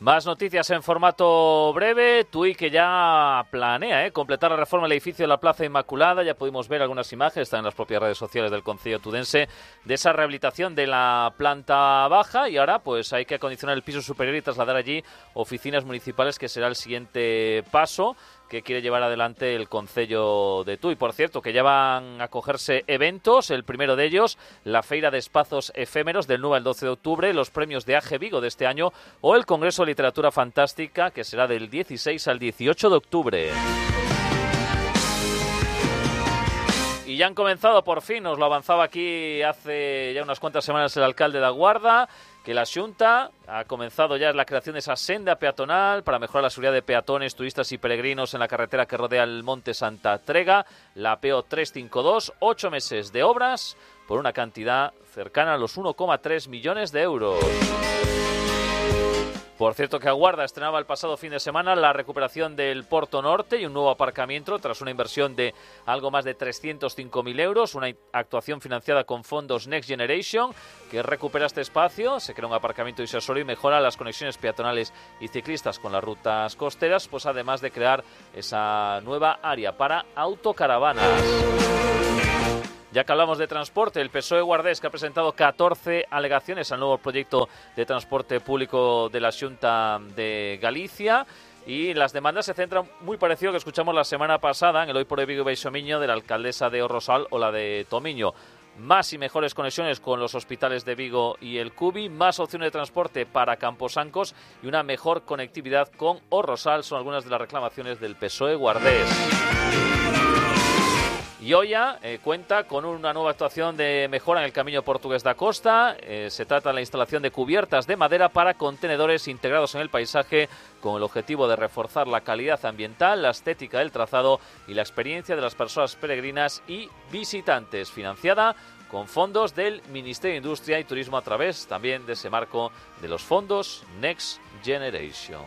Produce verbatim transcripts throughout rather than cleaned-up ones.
Más noticias en formato breve. Tui que ya planea ¿eh? completar la reforma del edificio de la Plaza Inmaculada. Ya pudimos ver algunas imágenes, están en las propias redes sociales del Concello tudense, de esa rehabilitación de la planta baja, y ahora pues hay que acondicionar el piso superior y trasladar allí oficinas municipales, que será el siguiente paso que quiere llevar adelante el Concello de Tui. Por cierto, que ya van a cogerse eventos, el primero de ellos, la Feira de Espazos Efémeros del nueve al doce de octubre, los premios de A G Vigo de este año o el Congreso de Literatura Fantástica, que será del dieciséis al dieciocho de octubre. Y ya han comenzado, por fin, nos lo avanzaba aquí hace ya unas cuantas semanas el alcalde da Guarda, que la Xunta ha comenzado ya la creación de esa senda peatonal para mejorar la seguridad de peatones, turistas y peregrinos en la carretera que rodea el Monte Santa Trega, la P O trescientos cincuenta y dos, ocho meses de obras por una cantidad cercana a los uno coma tres millones de euros. Por cierto, que Aguarda estrenaba el pasado fin de semana la recuperación del Porto Norte y un nuevo aparcamiento tras una inversión de algo más de trescientos cinco mil euros, una actuación financiada con fondos Next Generation, que recupera este espacio, se crea un aparcamiento disuasorio y mejora las conexiones peatonales y ciclistas con las rutas costeras, pues además de crear esa nueva área para autocaravanas. Ya que hablamos de transporte, el P S O E guardés, que ha presentado catorce alegaciones al nuevo proyecto de transporte público de la Xunta de Galicia, y las demandas se centran muy parecido a lo que escuchamos la semana pasada en el Hoy por Hoy Vigo y Baixomiño de la alcaldesa de O Rosal o la de Tomiño. Más y mejores conexiones con los hospitales de Vigo y el Cubi, más opciones de transporte para Camposancos y una mejor conectividad con O Rosal son algunas de las reclamaciones del P S O E guardés. Y Oia eh, cuenta con una nueva actuación de mejora en el Camino Portugués da Costa. Eh, se trata de la instalación de cubiertas de madera para contenedores integrados en el paisaje, con el objetivo de reforzar la calidad ambiental, la estética del trazado y la experiencia de las personas peregrinas y visitantes, financiada con fondos del Ministerio de Industria y Turismo a través también de ese marco de los fondos Next Generation.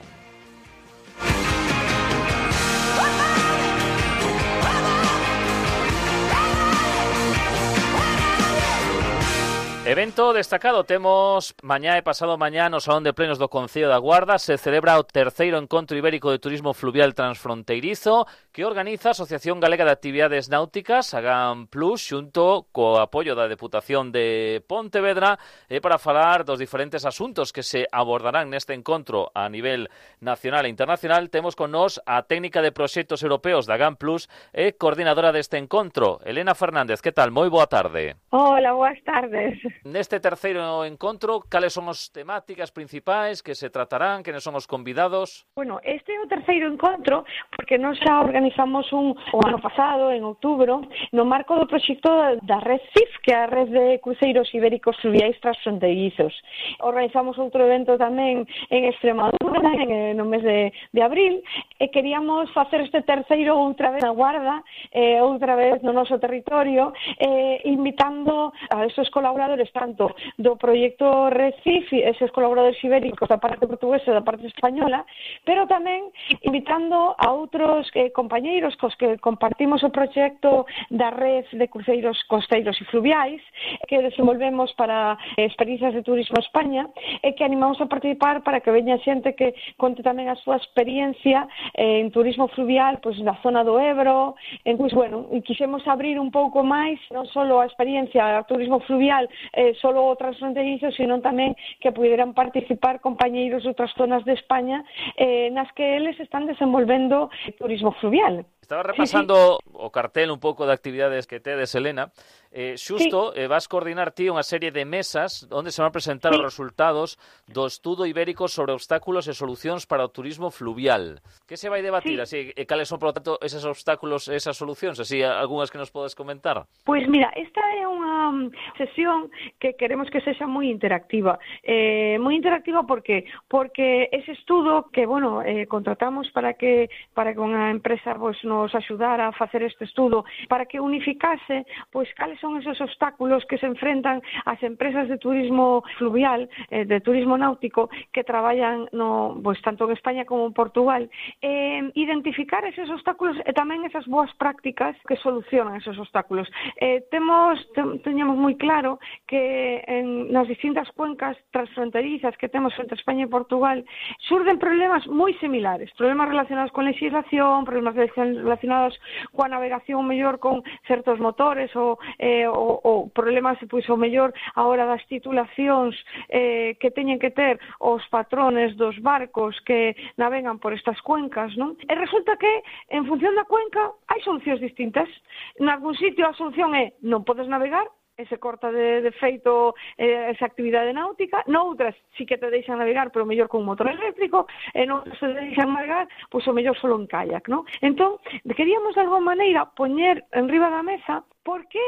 Evento destacado temos mañá e pasado mañá no Salón de Plenos do Concello da Guarda. Se celebra o terceiro Encontro Ibérico de Turismo Fluvial Transfronteirizo, que organiza a Asociación Galega de Actividades Náuticas, a GAM Plus, xunto co apoio da Deputación de Pontevedra, e para falar dos diferentes asuntos que se abordarán neste encontro a nivel nacional e internacional, temos con nós a técnica de proxectos europeos da GAM Plus e coordinadora deste encontro, Elena Fernández. Que tal? Moi boa tarde. Hola, boas tardes. Neste terceiro encontro, cales son as temáticas principais que se tratarán, quenes son os convidados? Bueno, este é o terceiro encontro porque nós xa organizamos un o ano pasado, en outubro, no marco do proxecto da Red C I F, que é a Red de Cruceiros Ibéricos Fluviais Transfronteirizos. Organizamos outro evento tamén en Extremadura, en, no mes de, de abril, e queríamos facer este terceiro outra vez na Guarda, eh, outra vez no noso territorio, eh, invitando a esos colaboradores tanto do proxecto Red C I F, eses colaboradores ibéricos da parte portuguesa e da parte española, pero tamén invitando a outros eh, compañeiros cos que compartimos o proxecto da Red de Cruceiros Costeiros e Fluviais, que desenvolvemos para eh, experiencias de turismo a España, e que animamos a participar para que veña xente que conte tamén a súa experiencia eh, en turismo fluvial, pois na zona do Ebro. Entón, bueno, e quixemos abrir un pouco máis, non só a experiencia a turismo fluvial eh, solo o transfronterizo, sino tamén que puderan participar compañeiros de outras zonas de España eh, nas que eles están desenvolvendo turismo fluvial. Estaba repasando sí, sí. o cartel un pouco de actividades que tedes, Elena. Eh, xusto, sí. eh, vas coordinar ti unha serie de mesas onde se van a presentar sí. os resultados do estudo ibérico sobre obstáculos e solucións para o turismo fluvial. Que se vai debatir? Sí. Así, e cales son, por lo tanto, eses obstáculos e esas solucións? Así, algunhas que nos podes comentar? Pois mira, esta é unha sesión que queremos que sexa moi interactiva. Eh, moi interactiva porque porque ese estudo que, bueno, eh, contratamos para que para que unha empresa pues, nos axudara a facer este estudo, para que unificase pois cales son esos obstáculos que se enfrentan as empresas de turismo fluvial, eh, de turismo náutico, que traballan no, pues, tanto en España como en Portugal, eh, identificar esos obstáculos e tamén esas boas prácticas que solucionan esos obstáculos. Eh, temos, te, teñamos moi claro que en, nas distintas cuencas transfronterizas que temos entre España e Portugal surden problemas moi similares, problemas relacionados con legislación, problemas relacionados coa navegación mellor con certos motores ou, eh, ou, ou problemas pois, o mellor a hora das titulacións eh, que teñen que ter os patrones dos barcos que navegan por estas cuencas, non? E resulta que en función da cuenca hai solucións distintas. En algún sitio a solución é non podes navegar, e se corta de, de feito eh, esa actividade náutica, noutras sí que te deixan navegar, pero mellor con un motor eléctrico, e noutras se deixan navegar, pois o mellor solo en kayak, non? Entón, queríamos de alguma maneira poñer en riba da mesa por que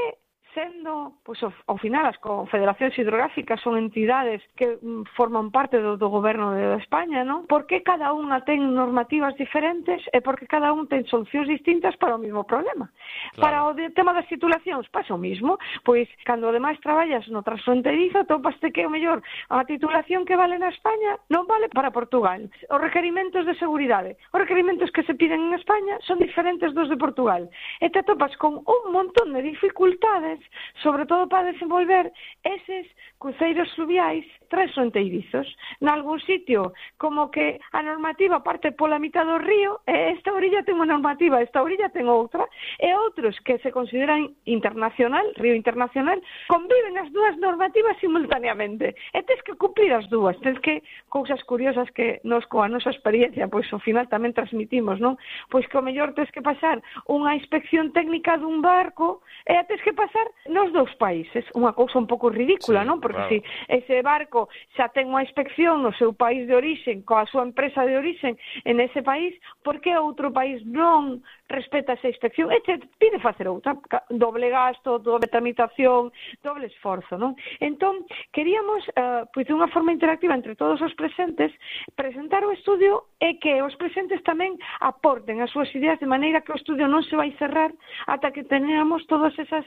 sendo, pois, ao, ao final, as confederacións hidrográficas son entidades que mm, forman parte do, do goberno de España, non? Por que cada unha ten normativas diferentes e por que cada un ten solucións distintas para o mesmo problema? Claro. Para o de, tema das titulacións, pasa o mismo. Pois, cando ademais traballas no transfronterizo, topaste que o mellor a titulación que vale na España non vale para Portugal. Os requerimentos de seguridade, os requerimentos que se piden en España son diferentes dos de Portugal. E te topas con un montón de dificultades, sobre todo para desenvolver eses cruceiros fluviais transfronteirizos. Nalgún sitio, como que a normativa parte pola mitad do río, e esta orilla ten unha normativa, esta orilla ten outra, e outros que se consideran internacional, río internacional, conviven as dúas normativas simultaneamente. E tens que cumplir as dúas, tens que, cousas curiosas que nos, coa nosa experiencia, pois ao final tamén transmitimos, non? Pois que o mellor tens que pasar unha inspección técnica dun barco, e tens que pasar nos dous países, unha cousa un pouco ridícula, sí, non? Porque claro, se si ese barco xa ten unha inspección no seu país de orixen, coa súa empresa de orixen en ese país, por que outro país non respeta esa inspección? E te pide facer outra, doble gasto, doble tramitación, doble esforzo, non? Entón, queríamos, uh, pois de unha forma interactiva entre todos os presentes, presentar o estudio e que os presentes tamén aporten as súas ideas de maneira que o estudio non se vai cerrar ata que teñamos todas esas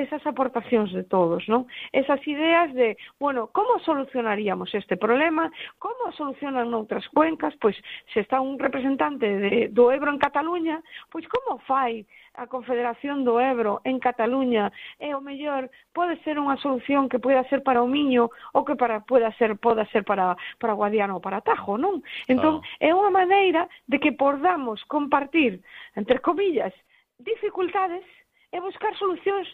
esas aportacións de todos, non? Esas ideas de, bueno, como solucionaríamos este problema, como solucionan noutras cuencas, pois se está un representante de, do Ebro en Cataluña, pois como fai a Confederación do Ebro en Cataluña, e o mellor pode ser unha solución que poida ser para o Miño ou que para poida ser poda ser para para Guadiana ou para Tajo, non? Entón, claro, é unha maneira de que podamos compartir, entre comillas, dificultades e buscar solucións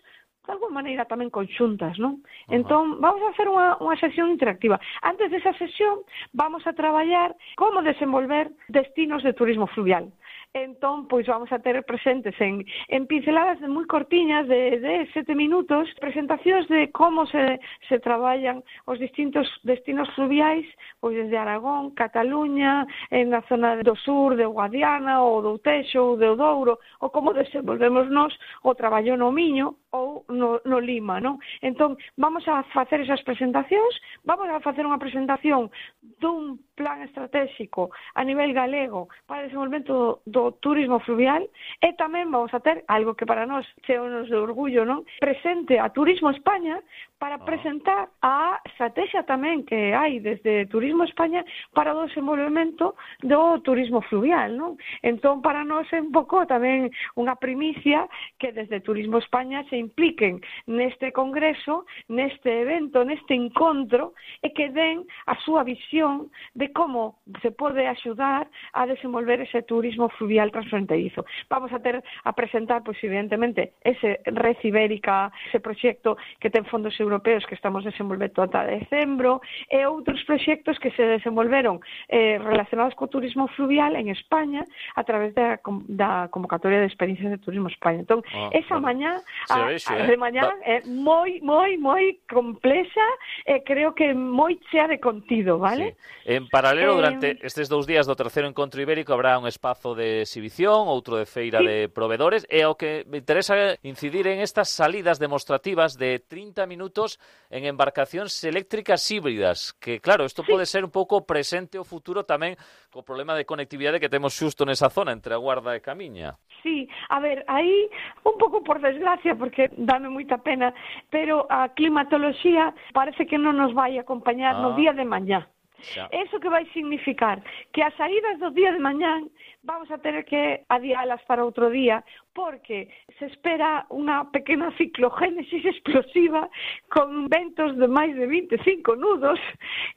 de alguma maneira tamén conxuntas, non? Uh-huh. Entón, vamos a hacer unha, unha sesión interactiva. Antes desa sesión, vamos a traballar como desenvolver destinos de turismo fluvial. Entón, pois vamos a ter presentes en, en pinceladas de moi cortiñas de, de sete minutos, presentacións de como se, se traballan os distintos destinos fluviais, pois desde Aragón, Cataluña, en na zona do sur de Guadiana, ou do Teixo, ou do Douro, ou como desenvolvemos nós o traballo no Miño ou no, no Lima, non? Entón, vamos a facer esas presentacións, vamos a facer unha presentación dun plan estratégico a nivel galego para o desenvolvemento do do turismo fluvial, e tamén vamos a ter algo que para nós cheonos de orgullo, non? Presente a Turismo España para presentar a estrategia tamén que hai desde Turismo España para o desenvolvemento do turismo fluvial, non? Entón, para nós é un pouco tamén unha primicia que desde Turismo España se impliquen neste congreso, neste evento, neste encontro, e que den a súa visión de como se pode axudar a desenvolver ese turismo fluvial transfronterizo. Vamos a ter a presentar, pois, evidentemente, ese Red Ibérica, ese proxecto que ten fondos europeos que estamos desenvolvendo ata decembro, e outros proxectos que se desenvolveron eh, relacionados co turismo fluvial en España a través da, da convocatoria de experiencias de Turismo España. Entón, oh, esa bueno, mañá, a, vexo, a, de mañá, eh? é moi, moi, moi complexa e creo que moi chea de contido, vale? Sí. En paralelo, eh, durante estes dous días do terceiro encontro ibérico habrá un espazo de exhibición, outro de feira sí. de proveedores, e o que me interesa incidir en estas salidas demostrativas de trinta minutos en embarcacións eléctricas híbridas, que claro, isto sí. pode ser un pouco presente ou futuro tamén co problema de conectividade que temos xusto nesa zona entre a Guarda e Camiña. Sí, a ver, aí un pouco por desgracia, porque dame moita pena, pero a climatoloxía parece que non nos vai acompañar no Ah, día de mañá. xa. Eso que vai significar que as saídas do día de mañán vamos a ter que adialas para outro día, porque se espera unha pequena ciclogénesis explosiva con ventos de máis de vinte e cinco nudos,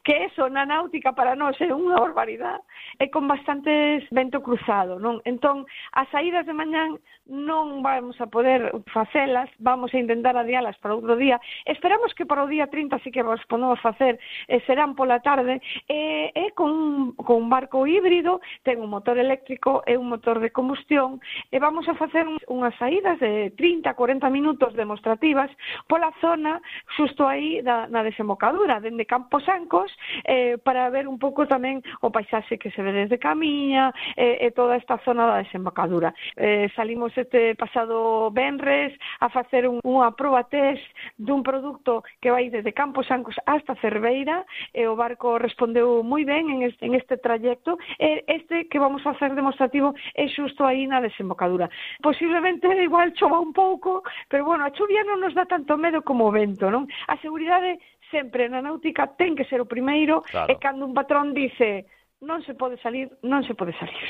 que eso na náutica para nós é unha barbaridade, e con bastantes vento cruzado, non? Entón, as saídas de mañán non vamos a poder facelas, vamos a intentar adialas para outro día. Esperamos que para o día trinta sí que vos podemos facer, e serán pola tarde, e, e con, con un barco híbrido, ten un motor eléctrico e un motor de combustión, e vamos a facer unhas saídas de trinta a corenta minutos demostrativas pola zona xusto aí da, na desembocadura, dende Camposancos, eh, para ver un pouco tamén o paisaxe que se ve desde Camiña e, e toda esta zona da desembocadura. Eh, salimos este pasado venres a facer un, unha proba test dun produto que vai desde Camposancos hasta Cerveira, e o barco respondeu moi ben en este, en este trayecto, e este que vamos a facer demostrativo é xusto aí na desembocadura. Posiblemente igual chova un pouco, pero bueno, a chuvia non nos dá tanto medo como o vento, non? A seguridade sempre na náutica ten que ser o primeiro, claro. E cando un patrón dice non se pode salir, non se pode salir.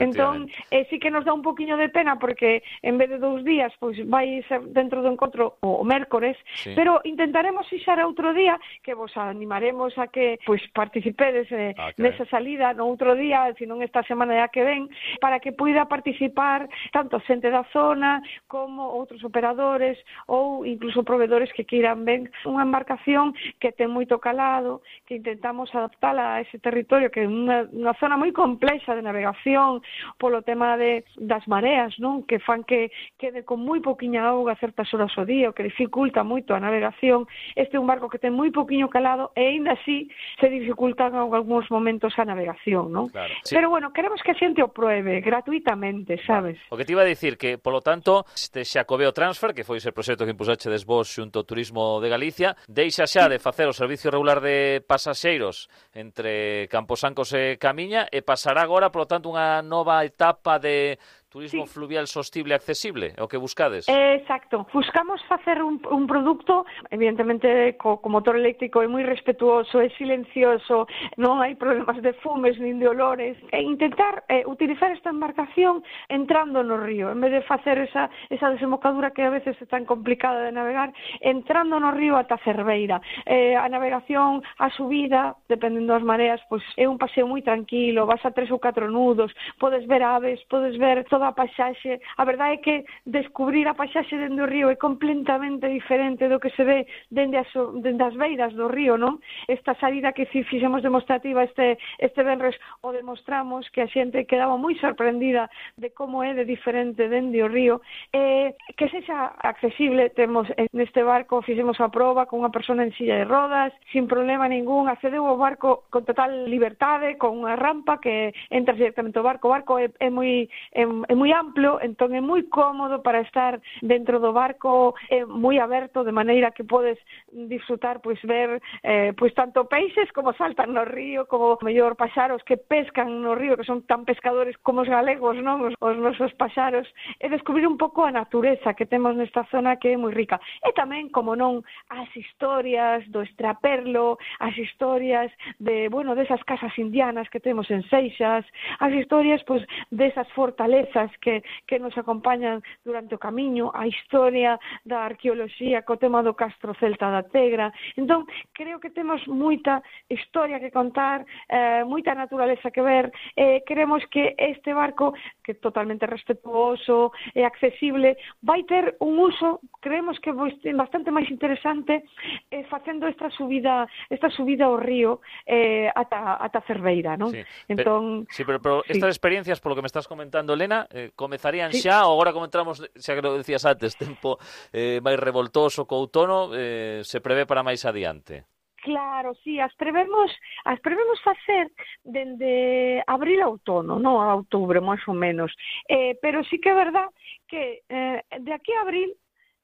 Entón, eh, sí que nos dá un poquinho de pena porque en vez de dous días, pois vai ser dentro do encontro o, o mércores, sí. Pero intentaremos fixar outro día que vos animaremos a que pois participedes eh, ah, okay. nesa salida no outro día, se non esta semana ya que ven, para que puida participar tanto xente da zona como outros operadores ou incluso proveedores que queiran ver unha embarcación que ten moito calado, que intentamos adaptala a ese territorio que é unha unha zona moi complexa de navegación polo tema de, das mareas, non? Que fan que quede con moi poquinha auga certas horas ao día, o que dificulta moito a navegación. Este é un barco que ten moi poquinho calado e aínda así se dificultan en algúns momentos a navegación, non? Claro. Sí. Pero bueno, queremos que a xente o pruebe gratuitamente, sabes? Vale. O que te iba a dicir que, polo tanto, este Xacobeo Transfer, que foi ese proxecto que impulsachedes vos xunto ao Turismo de Galicia, deixa xa de facer o servicio regular de pasaxeiros entre Camposancos e Camiña e pasará agora, polo tanto, unha nova etapa de turismo sí. fluvial sostible e accesible, é o que buscades? Exacto. Buscamos facer un, un produto, evidentemente, co, co motor eléctrico é moi respetuoso, é silencioso, non hai problemas de fumes nin de olores, e intentar eh, utilizar esta embarcación entrando no río, en vez de facer esa, esa desembocadura que a veces é tan complicada de navegar, entrando no río ata Cerveira. Eh, a navegación, a subida, dependendo das mareas, pois é un paseo moi tranquilo, vas a tres ou catro nudos, podes ver aves, podes ver toda a paisaxe. A verdade é que descubrir a paisaxe dende o río é completamente diferente do que se ve dende as, dende as beiras do río, non? Esta salida que fixemos demostrativa este, este venres o demostramos que a xente quedaba moi sorprendida de como é de diferente dende o río, eh, que sexa accesible. Temos neste barco, fixemos a proba con unha persona en silla de rodas, sin problema ningún, accedeu ao barco con total liberdade, con unha rampa que entra directamente ao barco. O barco é, é moi é, é moi amplo, entón é moi cómodo para estar dentro do barco, é moi aberto, de maneira que podes disfrutar, pois ver eh, pois tanto peixes como saltan no río, como mellor paxaros que pescan no río, que son tan pescadores como os galegos, non? Os, os nosos paxaros, e descubrir un pouco a natureza que temos nesta zona que é moi rica. E tamén, como non, as historias do extraperlo, as historias de, bueno, desas casas indianas que temos en Seixas, as historias, pois, desas fortalezas que, que nos acompañan durante o camiño, a historia da arqueoloxía co tema do Castro Celta da Tegra. Entón, creo que temos moita historia que contar, eh, moita naturaleza que ver, eh, queremos que este barco, que é totalmente respetuoso e accesible, vai ter un uso, creemos que bastante máis interesante, eh, facendo esta subida esta subida ao río eh, ata, ata Cerveira, non? Sí, entón, pero, sí, pero, pero sí. Estas experiencias, por lo que me estás comentando, Elena, eh, comezarían sí. xa, ou agora como entramos, xa que lo decías antes, tempo eh, máis revoltoso co outono, eh, se prevé para máis adiante? Claro, sí, as prevemos, as prevemos facer dende abril a outono, non a outubro, máis ou menos. Eh, pero sí que é verdad que eh, de aquí a abril,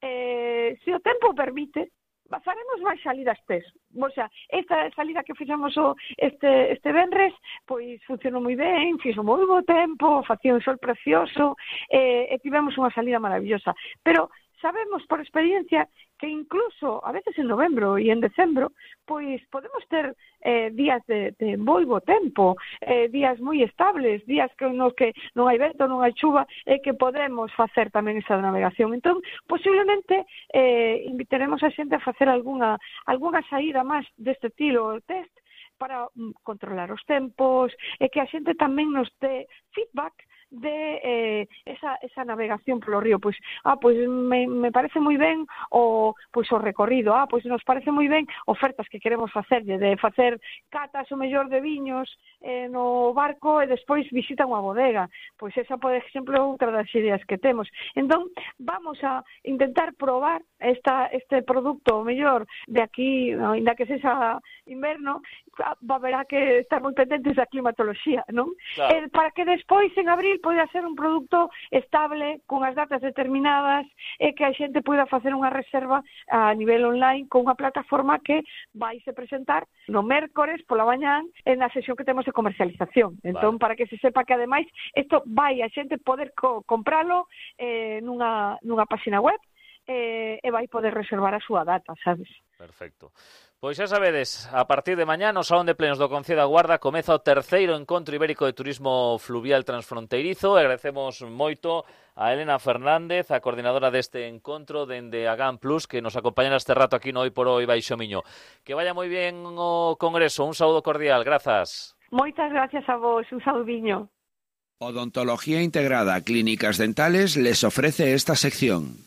eh, se o tempo permite, faremos máis salidas tes. O sea, esta salida que fixamos o, este, este venres, pois funcionou moi ben, fixo moi bo tempo, facía un sol precioso, e, e tivemos unha salida maravillosa. Pero sabemos por experiencia que incluso a veces en novembro e en decembro pois podemos ter eh, días de, de moi bo tempo, eh, días moi estables, días que nos que non hai vento, non hai chuva, e que podemos facer tamén esa navegación. Entón, posiblemente eh, invitaremos a xente a facer algunha, algunha saída máis deste estilo test para mm, controlar os tempos, e que a xente tamén nos dé feedback de eh, esa, esa navegación polo río. Pois, ah, pois me, me parece moi ben o, pois, o recorrido, ah, pois nos parece moi ben ofertas que queremos facerlle, de facer catas o mellor de viños eh, no barco e despois visitan unha bodega. Pois esa, por exemplo, outra das ideas que temos. Entón, vamos a intentar probar esta, este producto o mellor de aquí, ainda que sexa inverno, va haberá que estar moi pendentes da climatoloxía, non? Claro. Eh, para que despois, en abril, poida ser un produto estable, con as datas determinadas, e que a xente poida facer unha reserva a nivel online con unha plataforma que vai se presentar no mércores pola mañán en a sesión que temos de comercialización. Entón, vale, para que se sepa que, ademais, isto vai a xente poder co compralo eh, nunha, nunha página web, eh, e vai poder reservar a súa data, sabes? Perfecto. Pois xa sabedes, a partir de mañá no Salón de Plenos do Concello da Guarda comeza o terceiro encontro ibérico de turismo fluvial transfronteirizo. E agradecemos moito a Elena Fernández, a coordinadora deste encontro dende Agán Plus, que nos acompaña neste rato aquí no Hoy por Hoy Baixo Miño. Que vaya moi ben o congreso, un saúdo cordial, grazas. Moitas gracias a vos, un saudiño. Odontología Integrada Clínicas Dentales les ofrece esta sección.